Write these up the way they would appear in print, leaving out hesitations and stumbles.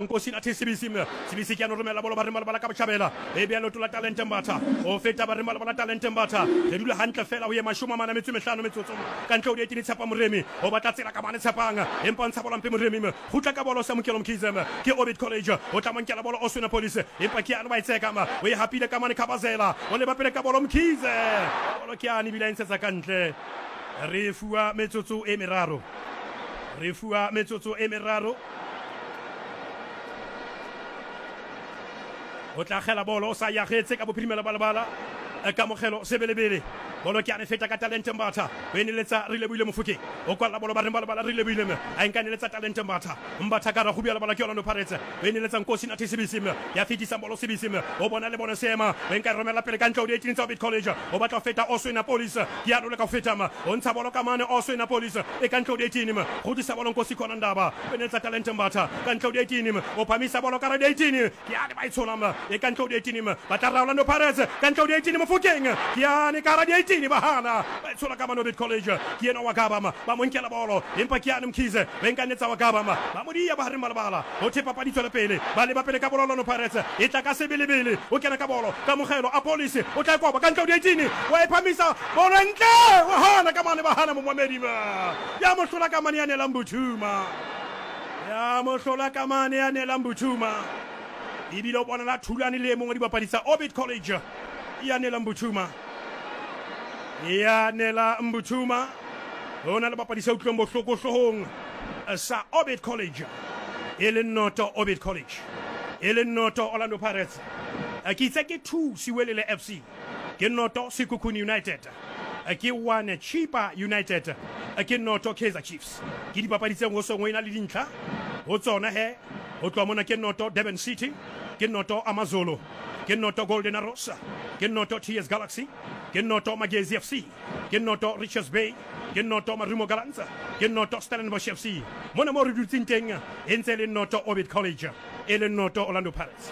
Nkosi Nathi Sibisi, Sibisi ke a no romela bolo bareng ba lebala ka botšhabela, e bea leoto la Talente Mbatha, o feta bareng ba lebala Talente Mbatha, re dula hantle fela ho ye mashome a mane a metso e mehlano metsotso ka ntle ho dietini. Tshepa Moremi o batla tsela ka mane, Tshepang empa o ntsha bolo mpe Moremi, kgutla ka bolo Samukelo Mkhize, ke Orbit College o tla mo nkela bolo Oswin Police, empa ke yane wa e tseka, o e hapile ka mane Khabazela, o leba pele ka bolo Mkhize, bolo ke yane ebile a e ntshetsa ka ntle. Re fuwa metsotso e meraro, re fuwa metsotso e meraro. O tla kgela bolo o sa yagetse ka bophirimela ba lebala. Kamogelo Sebelebele, bolo ke a ne feta ka Talente Mbatha, o e neletsa re lebohile Mofokeng, o kwalla bolo bareng ba lebala re lebohile me a e nka neletsa Talente Mbatha, Mbatha ka ragubi ya lebala ke Orlando Pirates, o e neletsa Nkosi Nathi Sibisi me ya fetisang bolo Sibisi me o bona le bone seema o e nka e romela pele ka ntle ho di-18 tsa Orbit College, o batla ho feta Oswin Police ke ya leka ho feta me o ntsha bolo ka mane Oswin Police e ka ntle ho di-18 me kgutlisa bolo Nkosi Khona Ndaba o e neletsa Talente Mbatha ka ntle ho di-18 o phamisa bolo ka re di-18 Ke yane ba e tshola e ka ntle ho di-18, ba tla ra Orlando Pirates ka ntle ho di-18, Mofokeng ke yane ka hara di-18, ba hana ba e tshola ka mane Orbit College, ke yena wa Gaba ba mo nkela bolo, empa ke yane Mkhize o e nkanetsa wa Gaba ba mo diya bohareng ba lebala, ho thwe papadi tswele pele, ba leba pele ka bolo Orlando Pirates e tla ka sebelebele, o kena ka bolo Kamogelo Appollis o tla e koba ka ntle ho di-18, wa e phamisa bolo e ntle, wa hana ka mane ba hana Momamedi ya mo hlola ka mane ya nelang Buthuma. Ya mohlola ka mane ya neelang Buthuma. Ebile o bonala thulane le e mongwe wa dibapadi tsa Orbit College ya neelang Buthuma. Ya neelang Buthuma. Ho na le bapadi sa utlweng bohloko hloohong sa Orbit College. E le noto Orbit College. E le noto Orlando Pirates. Ke itse ke 2 Siwelele FC. Ke noto Sekhukhune United. Ke 1 Chippa United, ke noto Kaizer Chiefs. Ke dipapadi tse ho seng ho ena le dintlha ho tsona he. Ho tloha mona ke noto Durban City, ke noto AmaZulu, ke noto Golden Arrows, ke noto TS Galaxy, ke noto Magesi FC, ke noto Richards Bay, ke noto Marumo Gallants, ke noto Stellenbosch FC. Mona moo re dutseng teng e ntse e le noto Orbit College. E leng noto Orlando Pirates.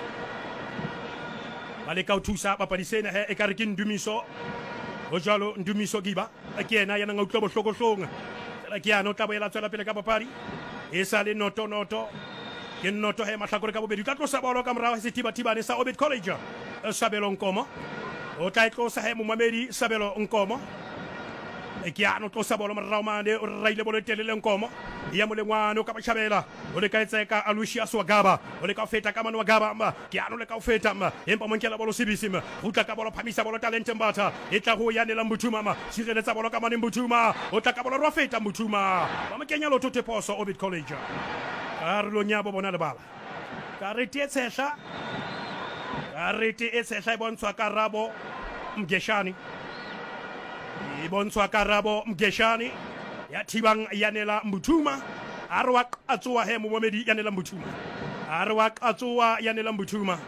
Ba leka ho thusa bapadi sena he ekare ke Ndumiso. Ho jwalo Ndumiso Giba ke yena ya nang a utlwa bohloko hlong. Fela ke yana o tla boela tswela pele ka papadi. E sa le noto noto. Ke noto he mahlakore ka bobedi. O tla tlosa bolo ka morao sethibathibane sa Orbit College. Sabelo Nkomo. O tla e tlosa he momamedi Sabelo Nkomo. Ke yana o tlosa bolo morao mane o raile bolo e telele Nkomo. Ya molengwane o ka botjhabela. O leka e tseka Aloysius wa Gaba. O leka ho feta ka mane wa Gaba. Ke ano leka ho feta. Empa mo nkela bolo Sibisi. Kgutla ka bolo phamisa bolo Talente Mbatha. E tla ho Yanela Mbuthuma. Sireletsa bolo ka mane Mbuthuma. O tla ka bolo rwa feta Mbuthuma. Ba mo kenya lotho Thephoso Orbit College. Karolong ya bo bona lebala. Karete e tshehla. Karete e tshehla e bontshwa Karabo Mgeshane. E bontshwa Karabo Mgeshane ya thibang Yanela Mbuthuma. A re wa qatsoa he momamedi Yanela Mbuthuma. A re wa qatsoa Yanela Mbuthuma.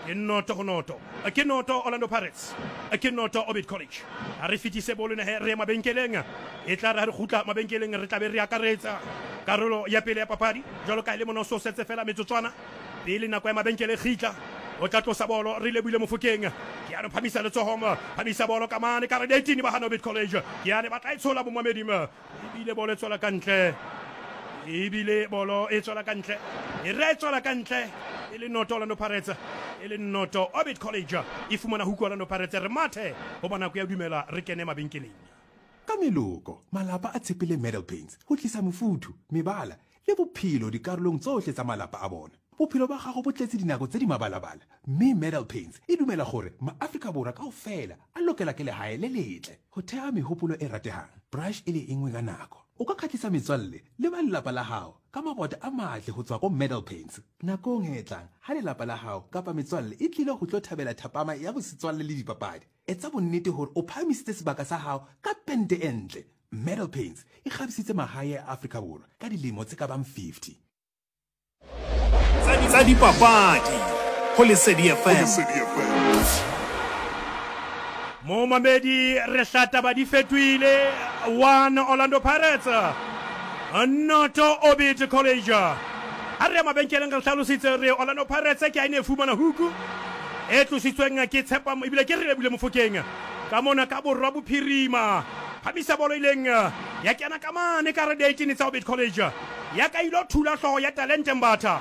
Ke noto ho noto. Ke noto Orlando Pirates. Ke noto Orbit College. A re fetise bolo ena he re ye mabenkeleng. E tla re ha re kgutla mabenkeleng re tla be re akaretsa karolo ya pele ya papadi. Jwalo ka e le mona o so setse fela metsotswana pele nako ya mabenkele e kgitla. O tla tlosa bolo re lebohile Mofokeng. Ke yane phamisa letsoho phamisa bolo ka mane ka re 18 ba hana Orbit College. Ke yane ba tla e tshola bomamedi. Ebile bolo e tswela ka ntle. Ebile bolo e tswela ka ntle. E re e tswela ka ntle. E le noto Orlando Pirates. E le noto Orbit College. E fumana huku Orlando Pirates. Re mathe hoba nako ya dumela re kene mabenkeleng. Ka meloko, malapa a tshepile Medal Paints go tlisa mofuthu, mebala le bophelo dikarolong tsohle tsa malapa a bona. Bophelo ba gago bo tletse dinako tse di mabalabala, mme Medal Paints e dumela gore maAfrika Borwa kaofela a lokela ke lehae le letle. Ho theha mehopolo e ratehang, brush e le enngwe ka nako. O ka kgahlisa metswalle le ba lelapa la hao ka mabota a matle ho tswa ko Medal Paints. Nakong e tlang ha lelapa la hao kapa metswalle e tlile ho tlo thabela thapama ya bosetswalle le dipapadi, etsa bonnete hore o phahamisitse sebaka sa hao ka pente e ntle. Medal Paints e kgabisitse mahae a Afrika Borwa ka dilemo tse ka bang 50. Tsa dipapadi go Lesedi FM. Momamedi re hlataba di fetohile 1 Orlando Pirates noto Orbit College. Ha re ya mabenkeleng re hlalositse re Orlando Pirates ke ha e ne e fumana huku e tlositsweng ke Tshepamo ebile ke re lebile Mofokeng ka mona ka borwa bophirima. Phamisa bolo ileng ya kena ka mane ka re 18 tsa Orbit College. Ya ka ilo thula hlooho ya Talente Mbatha.